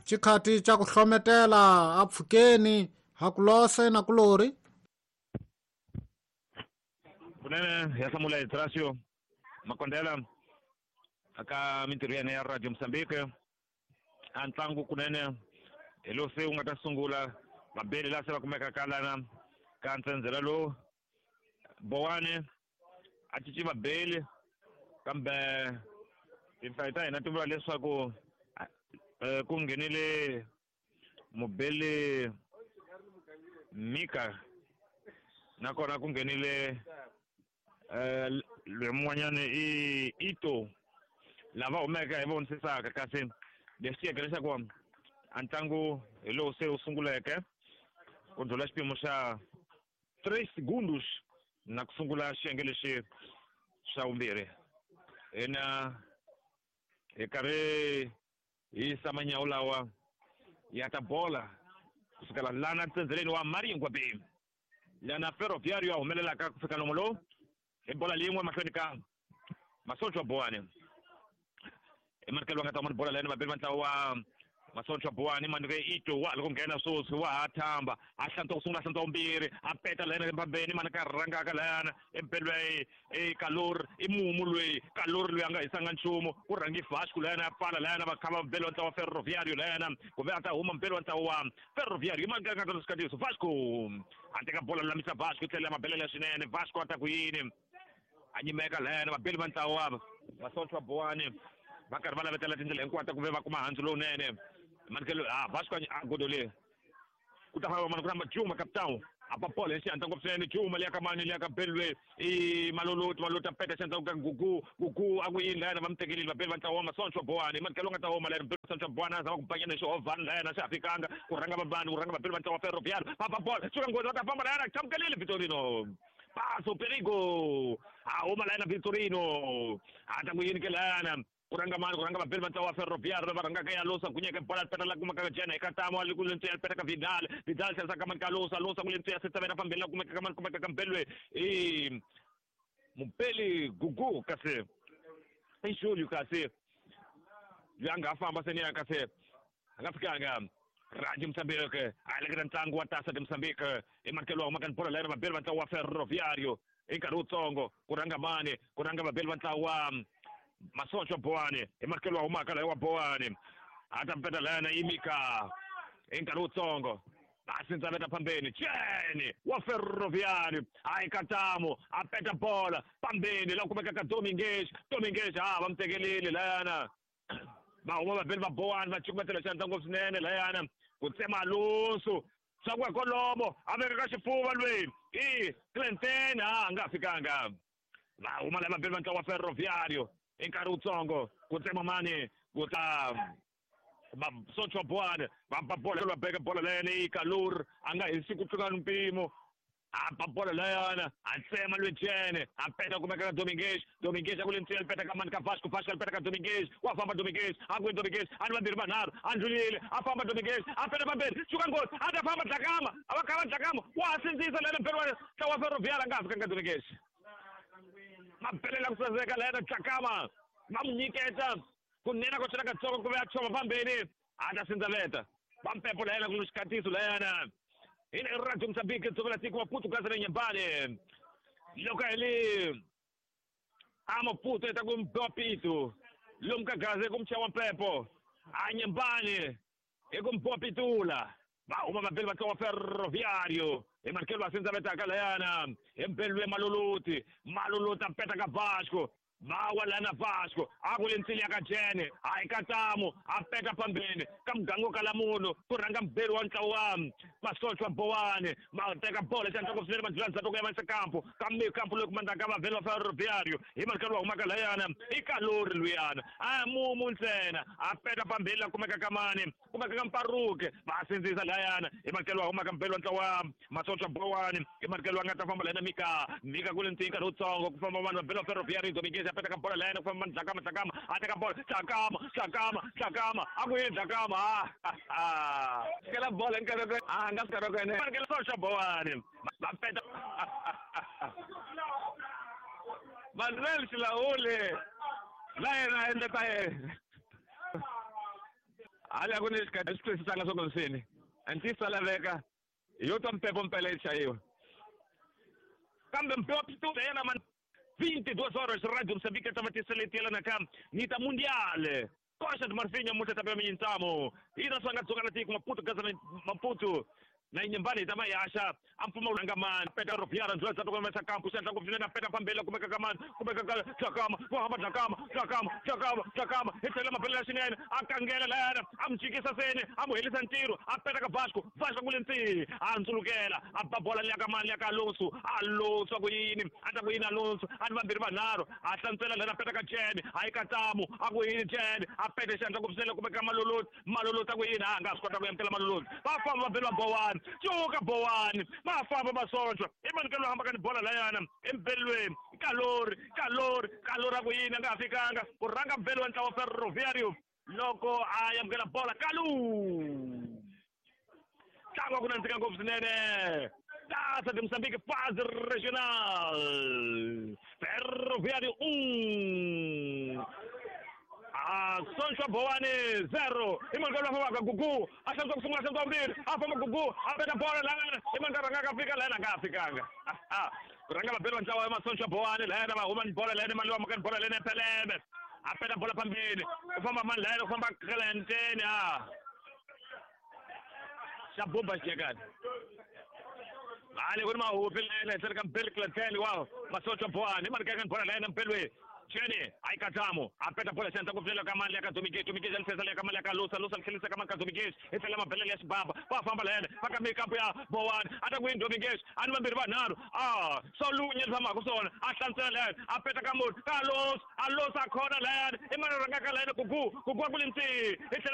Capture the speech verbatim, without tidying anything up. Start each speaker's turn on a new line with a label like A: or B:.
A: Xikhati xa ku hlometela a pfukeni hakulose na kulori.
B: Kunene ya hlamula hi Trasio Makondela aka mintirho ya yena ya Radio Mozambique. A ntlangu kunene hi lowu se wu nga ta sungula vabeli laha se va kumekaka lana ka ntsendzela lowu. Bowani a cinci vabeli kambe tinhlayo ta hina ti vula leswaku ku nghenile mubeli Mika nakona ku nghenile loyi mun'wanyana i Ito lava humeke hi vonisisaka. Kasi leswi tiyeke leswaku a ntlangu hi lowu se wu sunguleke ku ndlhula xipimo xa three segundos na ku sungula xiyenge lexi xa vumbirhi. Hina hi karhi hi yisa manyawu lawa ya ta bola kusukela lana ntsendzeleni wa Maringwabe lana Ferroviário ya humelelaka ku fika nomo lowu hi bola leyin'we mahlweni ka Masoncho wa Bowani. Emarikelo va nga ta huma ni bola layani vabeli va ntlawa wa Masoncho wa Bowani manike Ito wa loko nghena sweswi wa ha thamba a hlantswa ku sungula a hlantswa vumbirhi a peta layani embambeni mani ka rhangaka layana empelweni i Kalori i mumu loyi Kalori loyi a nga hisanga nchumu ku rhangi Vasco layana a pfala layana va khava mbeli wa ntlawa wa Ferroviário layana kumbe a ta huma mbeli wa ntlawa wa Ferroviário i mani ka nga ta swikhatiso Vasco a teka bola lulamisa Vasco tlhela mabelela swinene Vasco a ta ku yini a nyimeka layana vabeli va ntlawa wa Masoncho wa Bowani va karhi va lavetela tindlela hinkwato ku ve va kuma handzu lowunene. Manikelo a Vasco a godole ku ta famba mani ku famba Juma capitão a ba bola hi xihatla ngopfu swinene Juma liya ka mani liya ka Belwe i Maloloti Maloloti a peta xihatla ka Gugu Gugu a ku yini layana va mi tekelile vabeli va ntlawa wa Masoncho wa Bowani manikelo nga ta huma layana Mbeli Masoncho wa Bowani a zama ku banyana hi xihovhani layana swi ha fikanga ku rhanga vabani ku rhanga vabeli va ntlawa wa Ferroviário va ba bola suka nghozi va ta famba layana chamukelile Vitorino paso perigo a huma layana Vitorino a ta ku yini ke layana ku rhanga mani ku rhanga vabeli va ntlawa wa Ferroviário va rhangaka ya Losa gunyeke bola peta la kumeka jena eka tamo ali ku lentswi ya peta ka Vidal Vidal tlherisa ka mani ka Losa Losa ku lentswi ya setsavela phambeni la kumeka ka mani kumeka ka Mbelwe i Mubeli Gugu kasi i Julio kasi loyi a nga ha famba seni ya kasi a nga fikanga Radio Mozambique a heleketa ntlangu wa Taça de Mozambique i manikelo wa humaka ni bola layana vabeli va ntlawa wa Ferroviário i nkarhi wutsongo ku rhanga mani ku rhanga vabeli va ntlawa wa Masoncho wa Bowani i manikelo wa humaka layo wa Bowani a ta peta layana Imika i nkarhi wutsongo a sindzaveta phambeni Jene wa Ferroviário a ikatamu a peta bola phambeni la kumeka ka Domingues Domingues a va mi tekelile layana va huma vabeli va Bowani va cukumetela xandla ngopfu swinene layana ku tsema Alonso swa ku ya kolomo a veka ka xifuva lweyi i Clinton a nga fikanga va huma laya vabeli va ntlawa wa Ferroviário i nkarhi wutsongo ku tsema mani ku ta Masoncho wa Bowani va ba bola va beka bola layana i Kalur a nga hisi ku tlula mpimo a ba bola layana a tsema lwejene a peta kumeka ka Domingues Domingues a ku lentswi ya peta ka mani ka Vasco Vasco a peta ka Domingues wa famba Domingues a ku Domingues a ni vambirhi vanharhu a ndlulile a famba Domingues a peta pambeni suka nghozi a ta famba Dlakama a va khava Dlakama wa ha sindzisa layana mbeli wa ntlawa wa Ferroviário a nga ha fikanga Domingues mabelela ku saseka layana Dlakama va mu nyiketa ku nena ko chela katsongo ku ve a chova phambeni a ta sindzaveta va mpepo layana ku xikhatiso layana hi le Radio Mozambique dzovela tiko Maputo kasi na Nyembane loko hi le a Maputo eta ku mbiwa pitu lomu ka gaze ku mchaya wa mpepo a Nyembane hi ku mbiwa pitula va huma vabeli va ntlawa wa Ferroviário hi manikelo va sindzavetaka layana hi mbelwe Maloloti Maloloti a peta ka Vasco va wa lana Vasco a ku le ntsili ya ka Jene a ikatamu a peta phambeni ka muganga wo kala munhu ku rhanga mbeli wa ntlawa wa Masoncho wa Bowani va teka bola xandla ngopfu swinene va ndlula ndzhaku ku ya va kampo kambe kampo loyi kumandaka vavheli va Ferroviário hi manikelo wa humaka layana i Kalori luyana a mumu ntsena a peta phambeni la kumeka ka mani kumeka ka Mparuke va sindzisa layana hi manikelo wa humaka mbeli wa ntlawa wa Masoncho wa Bowani hi manikelo wa nga ta famba layana Mika Mika ku le ntsini nkarhi wutsongo ku famba vanhu vabeli va Ferroviário Domingues a peta ka bola layana ku famba Dlakama Dlakama a teka bola Dlakama Dlakama Dlakama a ku yini Dlakama a kela bola nkarhi a nga nkarhi ene manikelo Masoncho wa Bowani va peta Manuel Xilaule la yena a endla ta yena Hali a ku ni xikarhi swi twisisanga swa ku nsini ntiyiso laveka yo twa mpepo mpela yi chayiwa kambe mpepo yena man vinte e duas horas Rádio Moçambique tava tiseletiela ka nita mundial Costa de Marfim muta tapia mintsamo ina swanga tsonga na tiko Maputo gaza Maputo na inyambani tama yasha ampuma man peta ropiara nzwa tsa kumesa kampu senta ku peta pambela kumeka kaman kumeka ka tlakama ku hamba tlakama tlakama tlakama tlakama etsela mapela xinene akangela lana amjikisa sene amuhelisa ntirho apeta ka Vasco Vasco kulentsi antsulukela abba bola liya ka mani liya ka Alonso Alonso ku yini ata ku yini Alonso ani vambirhi vanharhu a hlantswela lana peta ka Jene hayi ka Tamu a ku yini Jene a pete xandla ku pfusela kumeka Maloloti Maloloti a ku yini a nga swi kota ku amukela Maloloti va famba vambirhi va Bowani cuka Bowani va famba va sochwa i mani ka loyi hambaka ni bola layana embelweni kalori kalori kalori a ku yini a nga ha fikanga ku rhanga mbelo wa ntlawa Ferroviário loko a amukela bola Kalu ntlangu wa ku nandzika ngopfu swinene Taça de Moçambique fase regional Ferroviário um Soncho Bowani zero imani ka loyi a fambaka Gugu a hlantswa ku sungula a hlantswa vumbirhi a famba Gugu a peta bola lana imani ka rhangaka fika lana a nga ha fikanga ku rhanga vabeli va ntlawa ya Masoncho Bowani lana va huma ni bola lana mali wa maka ni bola lana Peleme a peta bola phambili u famba mani lana u famba Clenteni a xa bumba xiyekani hali ku ni mahupi lana henhleni ka Mbeli Clenteni wa Masoncho Bowani imani ka ni bola lana Mbelweni Jene ay Katamu apeta bola xandla ku pfulela ka mali ya ka Dominguez Dominguez alisesa ya ka mali ya ka Lusa Lusa tlhelisa ka mali ka Dominguez i tlhela mabelele ya xibaba va famba lene va ka mikampu ya Bowani a ta ku yini Dominguez a ni vambirhi vanharhu a swo lunye tshamaka swona a hlantswela lene a peta ka munhu ka Alonso Alonso a khona layani i mani rhangaka lene Gugu Gugu a ku le ntsi i tlhela